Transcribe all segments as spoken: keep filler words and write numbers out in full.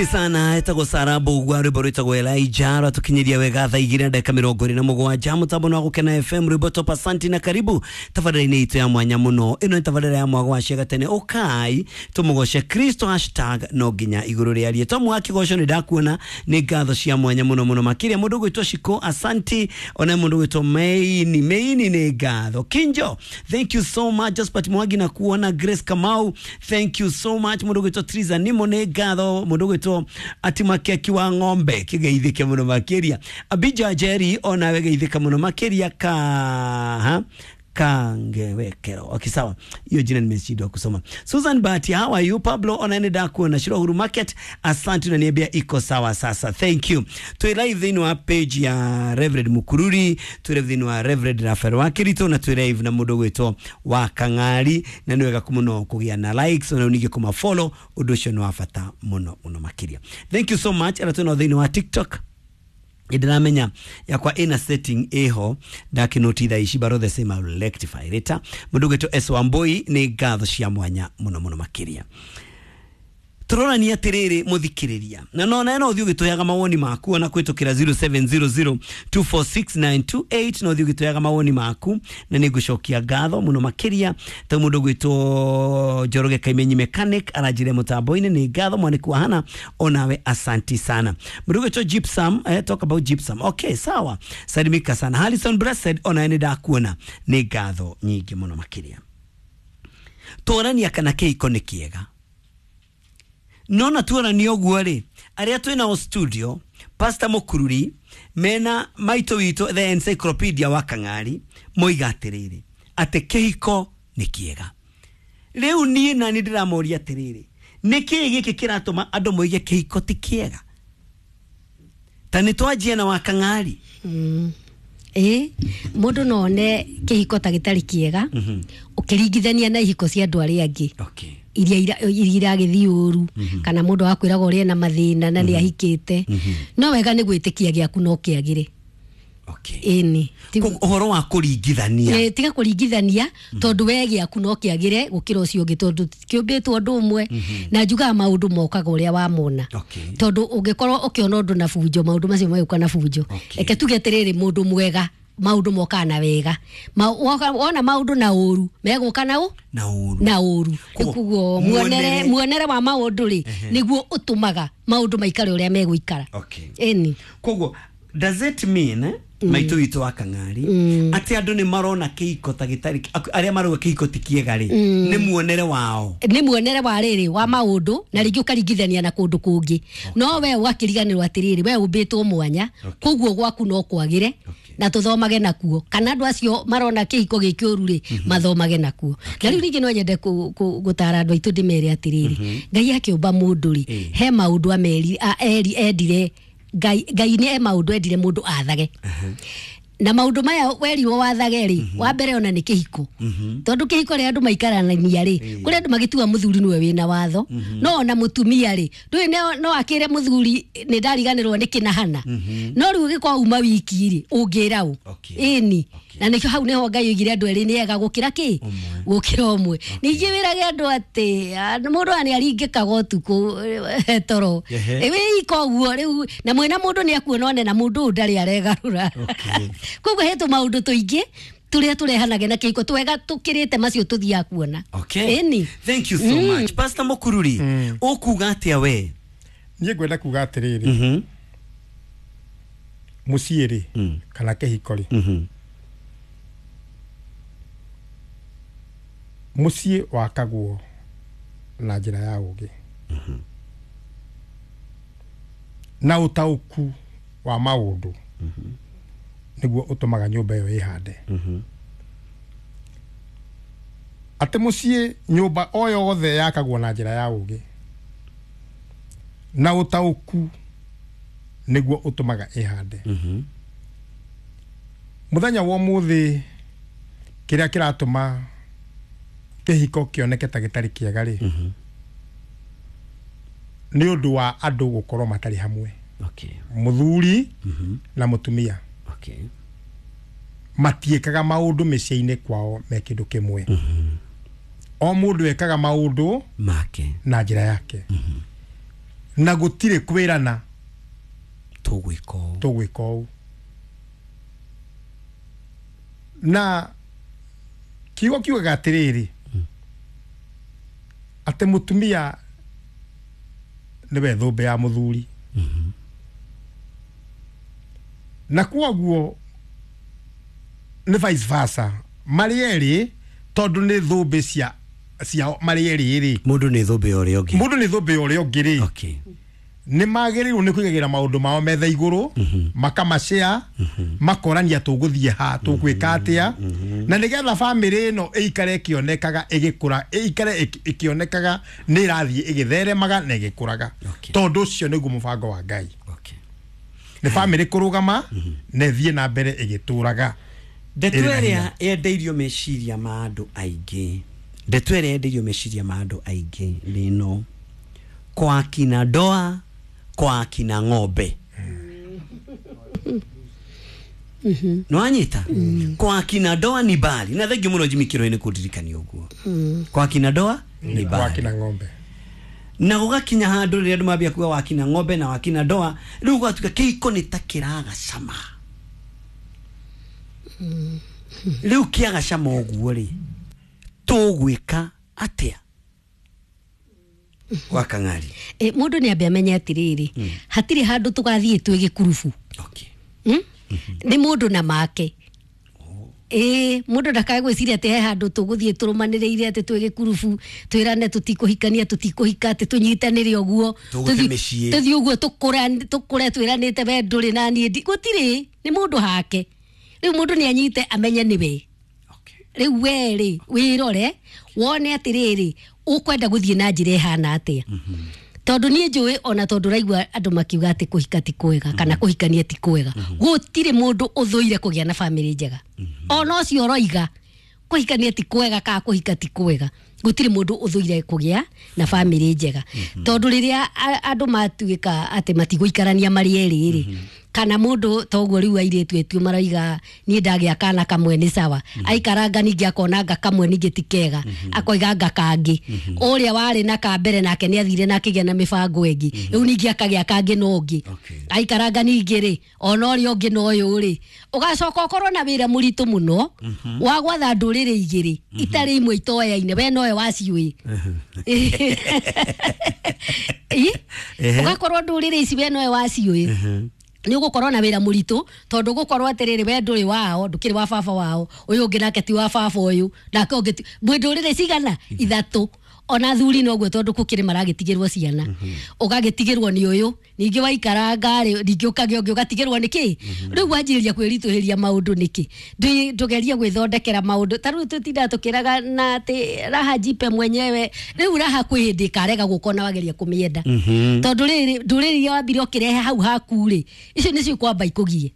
Sana etagwo Sara Mbugua rwimbo rwitagwo Elijah rwatukinyiria wega thaa igĩrĩ na ndagĩka mĩrongo ĩrĩ na mũgwanja mũtambo wa Gũkena F M rwimbo top. Asanti na karibu tabarĩra-inĩ itũ ya mwanya mũno. Ĩno nĩ tabarĩra ya mwago wa ciaga tene, ũkai tũmũgoce Kristo hashtag no nginya igũrũ rĩarie tomu wa kĩgoco. Nĩ ndakuona, nĩ ngatho cia mwanya mũno mũno makĩria. Mũndũ ũgwĩtwo Shiko, asanti. Ona mũndũ ũgwĩtwo Meini Meini, nĩ ngatho. Kinjo, thank you so much. Josephat Mwangi na kuona. Grace Kamau, thank you so much. Mũndũ ũgwĩtwo Triza Nimo, nĩ ngatho. Mũndũ ũgwĩtwo Atimakeki wa ng'ombe, kĩgeithĩke mũno makĩria. Abija Jerry, onawe geithĩka mũno makĩria. Ka ha Kangewekero, okay, sawa, hiyo jina nimeshindwa kusoma. Susan Bahati, how are you? Pablo, ona nĩ ndakuona. Shiro Market, asante, unaniambia iko sawa sasa, thank you. Twi live thĩinĩ wa page ya Reverend Mukururi, twi live thĩinĩ wa Reverend Rafael Wakirito, na twi live na mũndũ gwĩtwo wa Kang'ari, na nĩ wega mũno kũgĩa na likes na ningĩ kũma follow, ũndũ ũcio nĩ wa bata mũno mũno makĩria. Thank you so much. Ara twĩna thĩinĩ wa TikTok, ndĩramenya yakwa ina setting ĩho ndakinoti thaa ici, but all the same I will rectify later. Mũndũ gwĩtwo S Wambui, nĩ ngatho cia mwanya mũno mũno makĩria. Tũrorania atĩrĩrĩ mũthikĩrĩria, na no na no ũthiĩ ũgĩtũheaga mawoni maku ona kũhĩtũkĩra zero seven zero zero two four six nine two eight, no ũthiĩ ũgĩtũheaga mawoni maku na nĩ ngũcokia ngatho mũno makĩria. Ta mũndũ gwĩtwo Njoroge Kaimenyi Mechanic aranjire mũtambo-inĩ, nĩ ngatho. Mwanĩku wa Hana, onawe asanti sana. Mũndũ gwĩtwo Gypsum, eh, talk about Gypsum, okay, sawa, salimika sana. Harrison Blessed, onawe nĩ ndakuona, nĩ ngatho nyingĩ mũno makĩria. Tũrania kana kĩhiko nĩ kĩega. Nona tuonania ũguo rĩ, arĩa twĩ nao studio, Pastor Mukururi mena maitũ witũ the encyclopedia wa Kang'ari, moiga atĩrĩrĩ atĩ kĩhiko nĩ kĩega. Rĩu niĩ na nĩ ndĩramoria atĩrĩrĩ, nĩ kĩĩ gĩkĩ kĩratũma andũ moige kĩhiko ti kĩega? Ta nĩ twanjie na wa Kang'ari. Mm. Ĩ mũndũ no one kĩhiko ta gĩtarĩ kĩega ũkĩringithania na ihiko cia andũ arĩa angĩ. Okay. Iria iragĩthiĩ ũru, kana mũndũ akwĩraga ũrĩa ena mathĩna na nĩ ahikĩte. No wega nĩ gwĩtĩkia gĩaku no kĩagĩre. Okay. Ĩni. Ũhoro wa kũringithania. Tiga kũringithania tondũ we gĩaku no kĩagĩre gũkĩra ũcio ũngĩ, tondũ kĩũmbĩtwo ũndũ ũmwe. Na njugaga maũndũ mokaga ũrĩa wamona. Tondũ ũngĩkorwo ũkĩona ũndũ na bunjo, maũndũ macio magĩũka na bunjo. Reke tuge atĩrĩrĩ, mũndũ mwega maũndũ mokaga na wega, wona maũndũ na ũru megũka na ũ na ũru na ũru. Koguo muonere muonere wa maũndũ rĩ nĩguo ũtũmaga maũndũ maikare ũrĩa megũikara. Ĩni. Koguo does it mean eh, maitũ witũ wa Kang'ari atĩ andũ nĩ marona kĩhiko ta gĩtarĩ, arĩa marauga kĩhiko ti kĩega rĩ, nĩ muonere wao, nĩ muonere wa rĩrĩ wa maũndũ, na rĩngĩ ũkaringithania na kũndũ kũngĩ. No we ũgakĩriganĩrwo atĩrĩrĩ, we ũmbĩtwo mwanya, koguo gwaku no kwagĩre na tũthomage nakuo, kana andũ acio marona kĩhiko gĩkĩ ũru rĩ mathomage nakuo. Na rĩu ningĩ no nyende gũtara andũ aitũ ndĩmere atĩrĩrĩ, Ngai akĩũmba mũndũ rĩ, he maũndũ ameri endire Ngai Ngai nĩ maũndũ endire mũndũ athage. Na maũndũ maya werirwo wathage rĩ, wa mbere ona nĩ kĩhiko. Tondũ kĩhiko rĩ andũ maikaranagia rĩ, kũrĩ andũ magĩtua mũthuri nĩwe wĩna watho, no ona mũtumia rĩ, ndũĩ no akĩre mũthuri nĩ ndariganĩrwo nĩ kĩnahana. No rĩu ũgĩkorwo uma wiki rĩ, ũngĩra ũ? Ĩni. Na nĩkĩo hau nĩho Ngai oigire andũ erĩ nĩ ega gũkĩra kĩ? Gũkĩra ũmwe. Ningĩ wĩrage andũ atĩ mũndũ nĩ aringĩkaga ũtukũ toro. Wĩ ika ũguo rĩu, na mwĩna mũndũ nĩ akuona one na mũndũ ũyũ ndarĩ aregarũra. Koguo he tũmaũndũ tũingĩ tũrĩa tũrehanage na kĩhiko twega tũkĩrĩte macio tũthiaga kuona. Ĩni. Thank you so much. Pastor Mukururi, ũkuga atĩa we? Niĩ ngwenda kuga atĩrĩrĩ, mũciĩ rĩ kana kĩhiko rĩ, mũciĩ wakagwo na njĩra ya ũũgĩ na ũtaũku wa maũndũ nĩguo ũtũmaga nyũmba ĩyo ĩhande. Atĩ mũciĩ nyũmba o yothe yakagwo na njĩra ya ũũgĩ na ũtaũku nĩguo ũtũmaga ĩhande. Mũthenya wa ũmũthĩ kĩrĩa kĩratũma kĩhiko kĩoneke ta gĩtarĩ kĩega rĩ, nĩ ũndũ wa andũ gũkorwo matarĩ hamwe. Mũthuri na mũtumia matiĩkaga maũndũ mĩciĩ-inĩ kwao me kĩndũ kĩmwe. O mũndũ ekaga maũndũ make na njĩra yake. Na gũtirĩ kwĩrana tũgwĩka ũũ. Tũgwĩka ũũ. Na kiugo kiugaga atĩrĩrĩ, atĩ mũtumia nĩwe thũmbĩ ya mũthuri. Na kwoguo nĩ vice versa, marĩ erĩ, tondũ nĩ thũmbĩ cia cia marĩ erĩ rĩ, Mũndũ nĩ thũmbĩ ya ũrĩa ũngĩ. Mũndũ nĩ thũmbĩ ya ũrĩa ũngĩ rĩ, Okay. nĩ magĩrĩirwo nĩ kũigagĩra maũndũ mao metha igũrũ, makamacea, makorania tũgũthiĩ ha, tũgwĩka atĩa, na nĩgetha bamĩrĩ ĩno ĩikare ĩkĩonekaga ĩgĩkũra, ĩikare ĩkĩ- ĩkĩonekaga nĩ ĩrathiĩ ĩgĩtheremaga na ĩgĩkũraga. Okay. Tondũ ũcio nĩguo mũbango wa Ngai. Okay. Nĩ bamĩrĩ kũrũgama na ĩthiĩ na mbere ĩgĩtũraga. Ndeto Ĩrĩ na ĩrĩa hinya. yendeirio meciria ma andũ aingĩ, ndeto ĩrĩa yendeirio meciria ma andũ aingĩ nĩ ĩno: kwa kina ndoa, kwa kina ng'ombe. Nĩwanyita? Kwa kina ndoa ni mbali na thengio mũno Jimmy Kĩroi nĩ kũndirikania ũguo. Kwa kina ndoa ni Kwa mbali kina ng'ombe. Na gũgakinya handũ rĩrĩa andũ mambia kuga wakina ng'ombe na wakina ndoa, rĩu gũgatuĩka kĩhiko nĩ ta kĩraga cama. Rĩu kĩaga cama ũguo rĩ, tũgwĩka atĩa wakang'ari? E, mũndũ nĩ ambe amenye atĩrĩrĩ, hatirĩ handũ tũgathiĩ twĩ gĩkurubu. Okay. Mm? Nĩ mũndũ na make. Ĩĩ, mũndũ ndakae gwĩciria atĩ he handũ tũgũthiĩ tũrũmanĩrĩire atĩ twĩ gĩkurubu, twĩrane tũtikũhikania, tũtikũhika, atĩ tũnyitanĩre ũguo. Tũgũte Tũthiĩ- mĩciĩ. Tũthiĩ ũguo tũkũra- tũkũre twĩranĩte we ndũrĩ na niĩ ndi gũtirĩ, nĩ mũndũ hake. Rĩu mũndũ nĩ anyite amenye nĩwe. Okay. Rĩu we rĩ, wĩrore wone atĩrĩrĩ, ũkwenda gũthiĩ na njĩra ĩhana atĩa, tondũ niĩ njũĩ ona tondũ raigua andũ makiuga atĩ kũhika ti kwega kana kũhikania ti kwega, gũtirĩ mũndũ ũthũire kũgĩa na bamĩrĩ njega. Ona ũcio ũroiga kũhikania ti kwega kana kũhika ti kwega, gũtirĩ mũndũ ũthũire kũgĩa na bamĩrĩ njega, tondũ rĩrĩa a- andũ matuĩka atĩ matigũikarania marĩ erĩ rĩ, kana mũndũ toguo rĩu airĩtu etu maroiga niĩ ndagĩa kana kamwe nĩ sawa, aikaranga ningĩ akona nga kamwe ningĩ ti kega, akoiga nga kangĩ. Ũrĩa warĩ na ka mbere nake nĩ athire na akĩgĩa na mĩbango ĩngĩ, rĩu ningĩ akagĩa kangĩ na ũngĩ. Okay. Aikaranga ningĩ rĩ, ona ũrĩa ũngĩ na ũyũ rĩ, ũgacoka ũkorwo na wĩra mũritũ mũno wa gwatha ndũrĩrĩ igĩrĩ itarĩ imwe itoyaine, we nowe waciũĩ. Ĩ? Ehe. Ũgakorwo ndũrĩrĩ ici we nowe waciũĩ, nĩ ũgũkorwo na wĩra mũritũ, tondũ ũgũkorwo atĩrĩrĩ, we ndũrĩ wao, ndũkĩrĩ wa baba wao, ũyũ ũngĩ nake ti wa baba ũyũ, nake ũngĩ ti mwĩ ndũrĩrĩ cigana ithatũ. Ona athuri noguo, tondũ gũkĩrĩ maragĩtigĩrwo ciana, ũgagĩtigĩrwo nĩ ũyũ, ningĩ waikaranga rĩ, ningĩ ũkagĩa ũngĩ ũgatigĩrwo nĩ kĩ. Rĩu wanjĩrĩria kwĩritũhĩria maũndũ nĩkĩ? Ndũ- ndũgerie gwĩthondekera maũndũ. Ta rĩu tũtindaga tũkĩraga na atĩ raha jipe mwenyewe. Rĩu raha kwĩ hĩndĩ ĩkarega gũka ona wageria kũmĩenda, tondũ rĩrĩ, ndũrĩrĩ iria wambire ũkĩrehe hau haku rĩ, icio nĩcio ikwamba ikũgie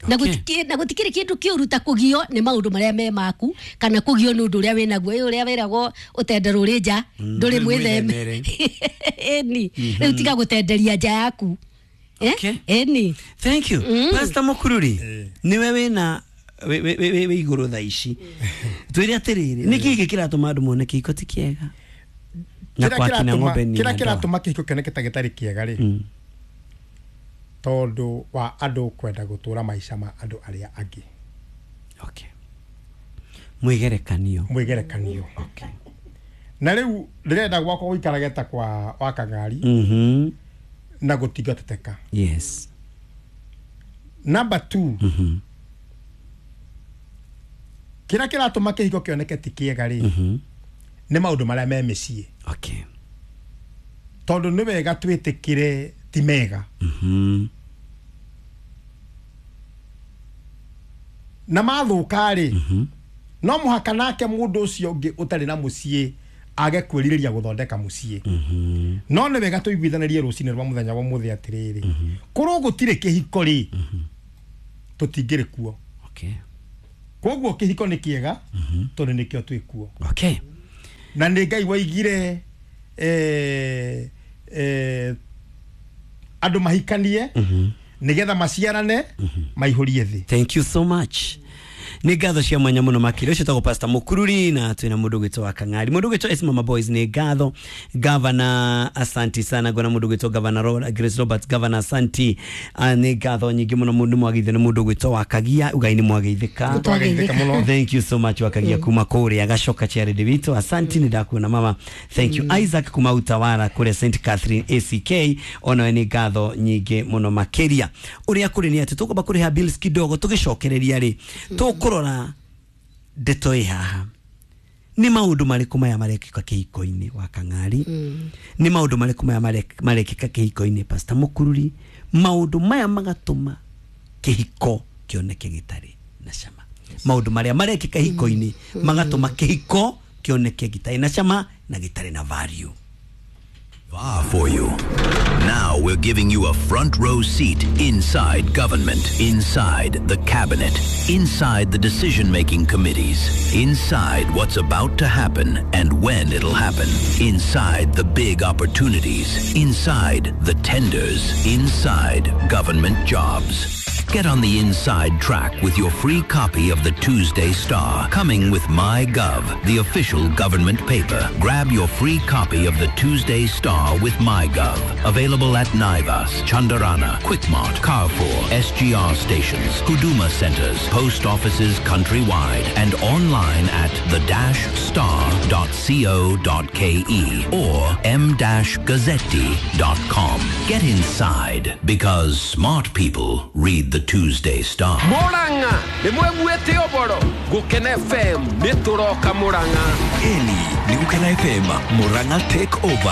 na Okay. gũtikĩ- na gũtikĩrĩ kĩndũ kĩũru ta kũgio nĩ maũndũ marĩa me maku kana kũgio nĩ ũndũ ũrĩa wĩnaguo. Ĩ ũrĩa wĩragwo ũtenderwo ũrĩ nja ndũrĩ mwĩtheme. Ĩni, rĩu tiga gũtenderia nja yaku. Eh? Okay. Ĩni. Thank you, Pastor Mukururi. Niwe wĩna wĩ- wĩ wĩ- wĩ igũrũ thaa ici, twĩre atĩrĩrĩ, nĩ kĩĩ gĩkĩ kĩratũma andũ mone kĩhiko ti kĩega na Kĩrĩa kwa kina kĩratũma- ng'ombe ni kĩrĩa na ndoa? Kĩratũma kĩhiko kĩoneke ta gĩtarĩ kĩega rĩ, tondũ wa andũ kwenda gũtũra maica ma andũ arĩa angĩ. Okay, mwĩgerekanio. Mwĩgerekanio. Okay. Na rĩu ndĩrenda gwakwa gũikarage ta kwa wakang'ari Mhm. na gũtingateteka. Yes. Number two, Mhm. kĩrĩa kĩratũma kĩhiko kĩoneke ti kĩega rĩ, Mhm. nĩ maũndũ marĩa me mĩciĩ. Okay. Tondũ nĩ wega twĩtĩkĩre ti mega. Mhm. Na mathũka rĩ, no mũhaka nake mũndũ ũcio ũngĩ ũtarĩ na mũciĩ age kwĩrirĩria gũthondeka mũciĩ. Mhm. No nĩ wega tũiguithanĩrie rũcinĩ rwa mũthenya wa mũthĩ atĩrĩrĩ, korwo gũtirĩ kĩhiko rĩ, tũtingĩrĩ kuo. Okay. Koguo kĩhiko nĩ kĩega tondũ nĩkĩo twĩ kuo. Okay. Na nĩ Ngai waigire eh, eh, andũ mahikanie nĩgetha maciarane maihũrie thĩ. Thank you so much. Nĩ ngatho cia mwanya mũno makĩria. Ũcio tagwo Pastor Mũkururi na twĩna mũndũ gwĩtwo wa Kang'ari, mũndũ gwĩtwo S Mama Boys. Nĩ ngatho Gavana, asanti sana. Ngona mũndũ gwĩtwo Gavana Ro- Grace Robert, Gavana, asanti. Ah, nĩ ngatho nyingĩ mũno. Mũndũ mwageithio nĩ mũndũ gwĩtwo wa Kagia ugai nĩ mwageithĩka. Twageithĩka mũno. Thank you so much, Wakagia kuma kũrĩa Gacoka Charity witũ, asanti. Nĩ ndakuona mama, thank you. Isaac kuma Utawara kũrĩa Saint Catherine A C K, onawe nĩ ngatho nyingĩ mũno makĩria. Ũrĩa kũrĩ nĩ atĩ tũkwamba kũrĩha bills kidogo, tũgĩcokereria rĩ tũkũrora ndeto ĩ haha. Nĩ maũndũ marĩkũ maya marekĩka kĩhiko-inĩ, wa Kang'ari? Nĩ maũndũ marĩkũ maya marek- marekĩka kĩhiko-inĩ, Pastor Mũkururi, maũndũ maya magatũma kĩhiko kĩoneke gĩtarĩ na cama? Maũndũ marĩa marekĩka hiko-inĩ magatũma kĩhiko kĩoneke gĩtarĩ na cama na gĩtarĩ na value. Ah, for you. Now we're giving you a front row seat inside government, inside the cabinet, inside the decision making committees, inside what's about to happen and when it'll happen, inside the big opportunities, inside the tenders, inside government jobs. Get on the inside track with your free copy of the Tuesday Star, coming with MyGov, the official government paper. Grab your free copy of the Tuesday Star with MyGov. Available at Naivas, Chandarana, Quickmart, Carrefour, S G R stations, Huduma centers, post offices countrywide, and online at the dash star dot co dot k e or m dash gazzetti dot com. Get inside because smart people read the Tuesday Star. Murang'a nĩ mweguĩte ũboro Gũkena F M nĩ tũroka Murang'a. Eni ni Gukena F M Murang'a Take Over.